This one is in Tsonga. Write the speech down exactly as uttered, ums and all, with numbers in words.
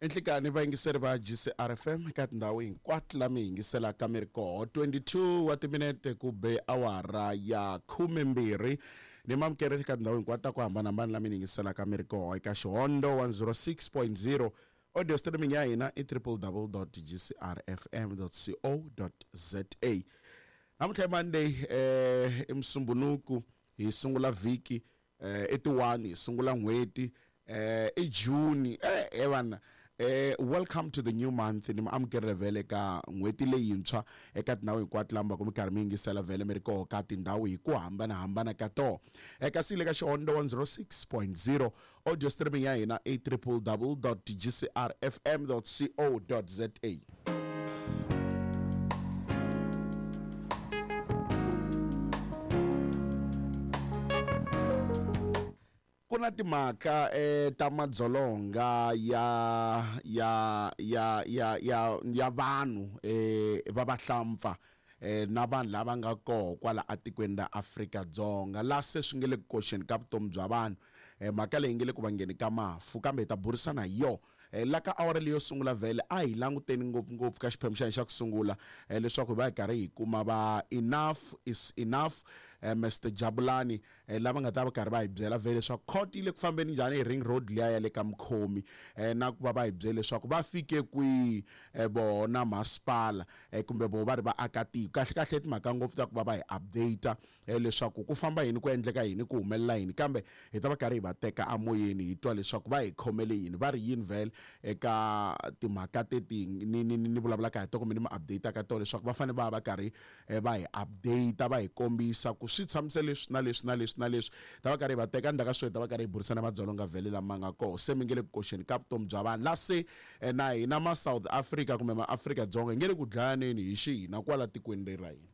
Enhlikani vayingiseri va G C R F M eka tindhawu hinkwato la mi yingiselaka mi ri koho twenty-two wa timinete ku be awara ya khumembirhi ni mamukeri eka tindhawu hinkwato ta ku hambanahambana la mi yingiselaka mi ri koho eka Xihondo one oh six point zero audio streaming ya hina i w w w dot g c r f m dot co dot z a. Namuntlha i Monday eh i Musumbunuku hi sungula vhiki eh i ti one hi sungula n'hweti eh i June eh eh vana eh welcome to the new month ni amukerile vhele ka n'hweti leyintshwa eka tindhawu hinkwato lamba ku mi karhi mi yingisela vhele mi ri koho ka tindhawu hi ku hambanahambana ka toho eka sile ka Xihondo one oh six point zero audio streaming ya hina i w w w dot g c r f m dot co dot z a. Ku na timhaka eh ta madzolonga ya ya ya ya ya ya vanhu eh va vahlampfa eh na vanhu lava nga koho kwala atikweni ra Afrika-Dzonga la se swi nge le ku koxeni ka vutomi bya vanhu eh mhaka leyi nge le ku vangeni ka mafu kambe hi ta burisana hi yona eh la ka awara leyo sungula vhele a hi languteni ngopfungopfu ka xiphemu xa hina xa ku sungula eh leswaku hi va hi karhi hi kuma va enough is enough eh Mister Jabulani eh lava nga ta va karhi va hi byela vhele leswaku court yi le ku fambeni njhani hi ring road liya ya le ka Mkhomi eh na ku va va hi byele leswaku va fike kwihi eh vona masipala eh kumbe vo va ri vaakatiko kahle kahle timhaka ngopfu ta ku va va hi update eh leswaku ku famba yini ku endleka yini ku humelela yini kambe hi ta va karhi hi va teka amoyeni hi twa leswaku va hi khomele yini va ri yini vhele eka timhaka teti ni ni ni vulavulaka hi to kumbe ni ma update ka to leswaku va fanele va va karhi va hi update va hi kombisa ku swi tshamise leswi na leswi na leswi na leswi ta va karhi va teka ndzhaku ka sweswo ta va karhi hi burisana madzolonga vhele lama nga koho se mi nge le ku koxeni ka vutomi bya vanhu la se na hina ma South Africa kumbe ma Afrika-Dzonga hi nge le ku dlayaneni hi xihina kwala tikweni leri ra hina.